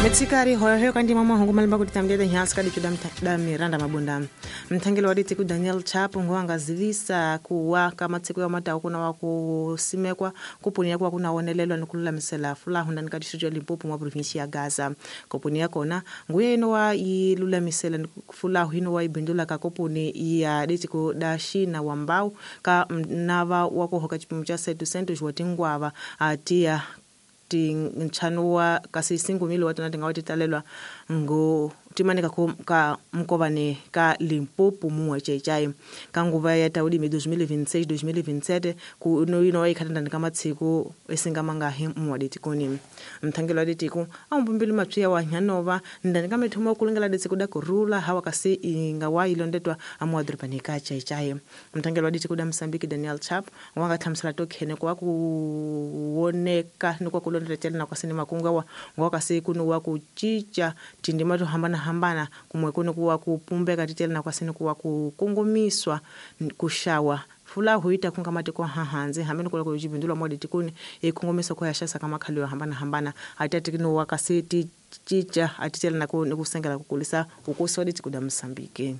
Mitsikari hoyohoyo kandi mama hongo malimba kuti tamdede nyasi kadi chuda da Miranda Mabunda. Mthangelo wa ditiku Daniel Chapo ngwanga zivisa kuwa kama tsiku ya mata kuna wa kusimekwa kupunia kwa kuna onelelwa nikululamisela fulahu ndani kadi shujo Limpopo mwa provinsi ya Gaza. Kupunia kona nguye ino wa ilulamisela fulahu ino wa ibindula ka kupuni ya ditiku da shina wambau ka nava wako hoka chipimo cha setu sentu juwatingwava atia nchanu wa kasi singumili watu natinga watitalelwa ngo timanika ka mkovane ka Limpopo muwa chaichai kanguva ya taudimi 2026 2027 ku no ino ikhatanda kama tsiku esingamangahi muwa ditikoni mthangelo wa ditiku ambumbili mapya wa nyanova ndani kama thuma kulingala ditsiku da kurula hawa kasi ingawa ilondetwa amuwa drupani ka chaichai mthangelo wa ditiku da Msambiki Daniel Chap wanga thamsala tokhene kwa kuoneka ni kwa kulondela tena na kwasini makunga wa ngwakasi kuno wa kuchicha tindima to hambana hambana kumwe kuno kuwa kupumbeka titela na kwasini kuwa kukongomiswa kushawa fula huita kungamati kwa hahanzi hamene kula kujibindula modi tikuni ikongomiswa kwa yashasa kama khaliwa hambana hambana atati kino wakasiti chicha atitela na kusengela kukulisa ukusodi tikuda Msambiki.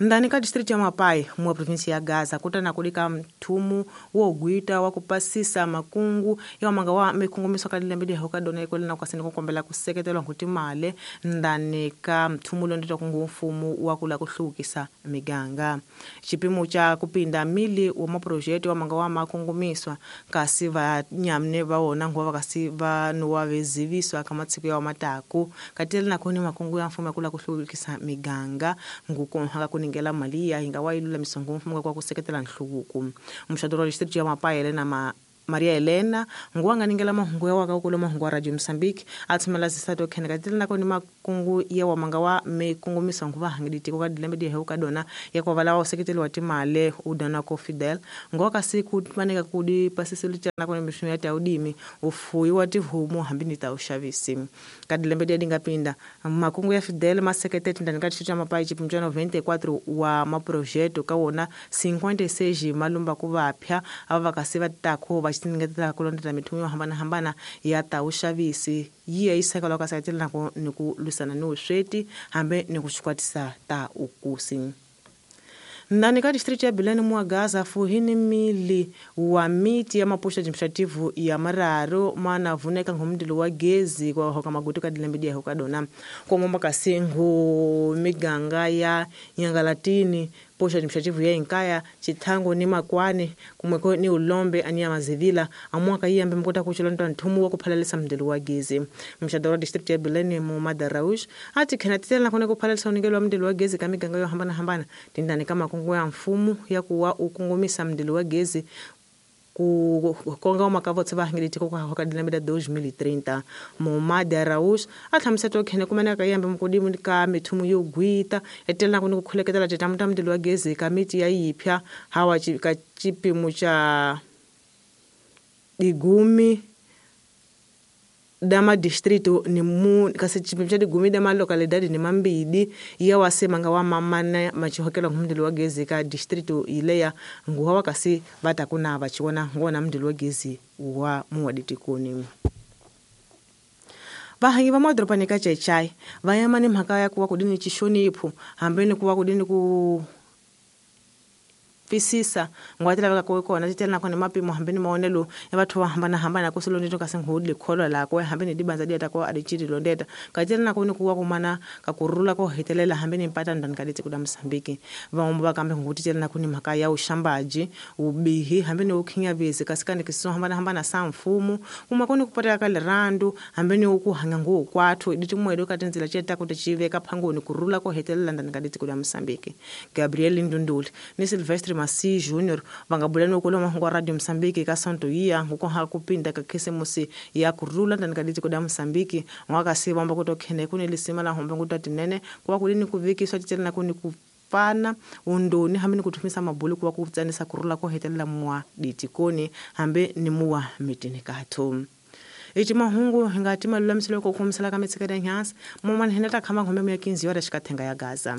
Ndani ka district ya Mapai mwa provinsi ya Gaza kutana kulika mtumu wo gwita wa kupasisa makungu ya manga wa mikungumiso kalile mbili hoka dona ikole na kwasini kukombela kuseketelwa nkuti male ndani ka mtumu londetwa kungu mfumu wa kula kuhlukisa miganga chipimo cha kupinda mili wa maprojekti wa manga wa makungumiswa kasi va nyamne vaona nguva kasi va nuwa veziviswa kama tsiku ya mataku katele na kuni makungu ya mfumu ya kula kuhlukisa miganga nguko haka kuni ngela mali ya ingawa ilula misongo mfumo kwa kuseketela nhluvuko mshadoro wa district ya Mapai Elena Maria Elena nguwanga ningela mahungu ya waka ukolo mahungu wa Radio Mozambique athumela zisato khene katile nako ni makungu ya wamanga wa mikungu misongo va hangiditi ko kadilembe di heuka dona ya kwa vala wa seketeli wa timale udana ko Fidel ngoka siku maneka kudi pasiselu cha nako ni mishumu ya taudimi ufuyi wa tihumu hambini ta ushavisi kadilembe di dingapinda makungu ya Fidel maseketeti ndani ka cha Mapai chipimo cha 94 wa maprojeto kawona 56 malumba kuvapya ava vakasiva tako va tingetela kulondela mithumu yo hambanahambana ya ta uxavisi yi ya yisekela ka seketela nako ni ku lwisana ni vusweti hambe ni ku xikwatisa ta ukusi. Ndani ka district ya Bilene mwa Gaza fuhini mili wa miti ya maposha administrative ya mararo mana vuneka ngomndilo wa gezi kwa hoka magutu ka dilembe dia hoka dona kwa momba kasingu miganga ya Nyangalatini posha administrative ya Inkaya Chithango ni Makwane kumweko ni Ulombe ania Mazivila amwaka iyambe mkota kuchilonda nthumu wa kuphalalisa mndilo wa gezi mshadoro district ya Bilene mu Madaraush ati khena titela kone kuphalalisa unikelo wa mndilo wa gezi ka miganga yo hambana hambana tindani kama kungu ya mfumu ya kuwa ukungumisa mndilo wa gezi ku konga makavo tseva hangiliti ko ka dilembe 2030 Momadi Araújo atlhamiseta khene kumene ka yambe mukodimu ka mithumu yo gwita etela ku ni ku khuleketela titamu ta mndilo wa gezi ka miti ya yipya hawa ka chipimo cha digumi dama distrito ni mu kasi chipimo cha digumi dama localidade ni mambidi ya wasemanga wa mamana machihokela ngumndilo wa gezi ka distrito ileya nguwa wakasi vatakuna vachiona ngona mndilo wa gezi wa muwaditikoni. Vahangi va madorobani ka Chechai va yama ni mhaka ya kuwa kudini chishonipho hambe ni kuwa kudini ku twisisa ngwati laveka ku kona titela na kona mapimo hambe ni maonelo ya vathu va hambanahambana ku silondetwa kasi nghudi likholwa lakwe hambe ni dibanza dieta ko adichiri londeta katela na koni kuwa kumana ka kurula ko hetelela hambe ni mpata ndani kaditsi kuda Mozambique vamwe va kambe nghuti tela na kuni mhaka ya uxambaji ubihi hambe ni ukhinyavezi kasi kandi kiso hambanahambana sa mfumo kuma koni kupatela ka lirandu hambe ni ku hanga nguwu kwathu ditimwedo ka tindzila ceta ku tichiveka phangoni kurula ko hetelela ndani kaditsi kuda Mozambique Gabriel Ndunduli ni Silvestre Masi Junior vangabulani ukolo mahungu wa Radio Mozambique ka Santo iya nguko ha kupinda ka khisimusi ya kurula ndani kaditsi kuda Mozambique ngwakasi vamba kutokhene kuni lisima la hombe ngutatinene kuwa kulini kuvikiswa titela na kuni kupfana undoni hambe ni kuthumisa mabulu kuwa kutsanisa kurula ko hetelela mwa ditikoni hambe ni muwa mitini kathu. Ichi mahungu hingati malulamiselo ko khomisela ka mitsikela nyasi momani hinata khama ngombe ya 15 yora xikathenga ya Gaza.